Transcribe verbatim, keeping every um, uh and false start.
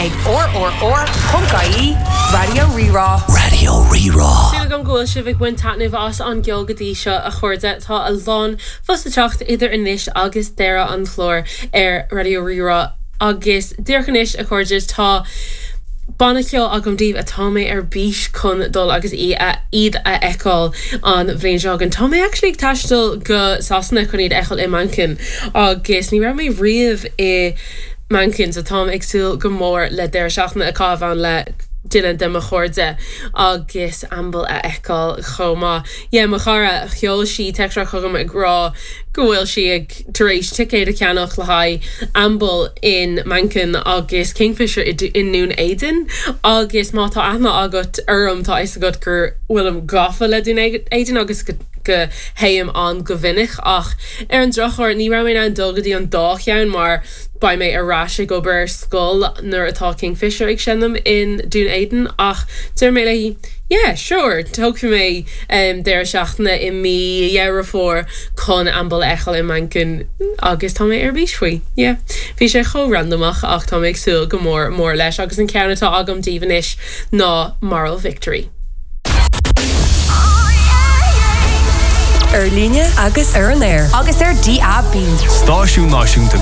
ag rrr.ie Raidió Rí-Rá. Raidió Rí-Rá. Súil agam go bhfuil sibh ag baint taitneamh as an gceol go dtí seo a chairde tá a lán fós le teacht idir anois agus deireadh an chláir ar Raidió Rí-Rá agus díreach anois a chairde tá banna ceoil agam daoibh atá mé ar bís chun dul agus í a iad a fheiceáil an bhliain seo chugainn. Tá mé actually ag taisteal go Sasana chun iad a fheiceáil i Manchain agus ní raibh mé riamh i Manchain so táim ag súil go mór le deireadh seachtaine a chaitheamh ann le duine de mo chairde agus Amble a fheiceáil chomh maith. Yeah, mo chara sheol sí teachtaireacht chugam ag rá go bhfuil sí ag tar éis ticéad a cheannach le haghaidh Amble in Manchain agus Kingfisher i nDún Éideann agus má tá aithne agat orm tá a fhios agat gur bhfuilim gafa le Dún Éideann agus go go théim ann go minic ach ar an drochuair ní raibh mé in ann dul go dtí an dá cheann mar beidh mé ar ais ag obair ar scoil nuair atá Kingfisher ag seinm in Dún Éideann ach deir mé léi yeah sure tógfaidh mé um, deireadh seachtaine i mí Dheireadh Fómhair chun Amble a fheiceáil i Manchain agus tá mé ar bís faoi. Yeah. Bhí sé chomh randamach ach tá mé ag súil go mór mór leis agus an ceann atá agam daoibh anois ná Moral Victory. Ar líne agus ar an aer. Agus ar DAB. Stáisiún Náisiúnta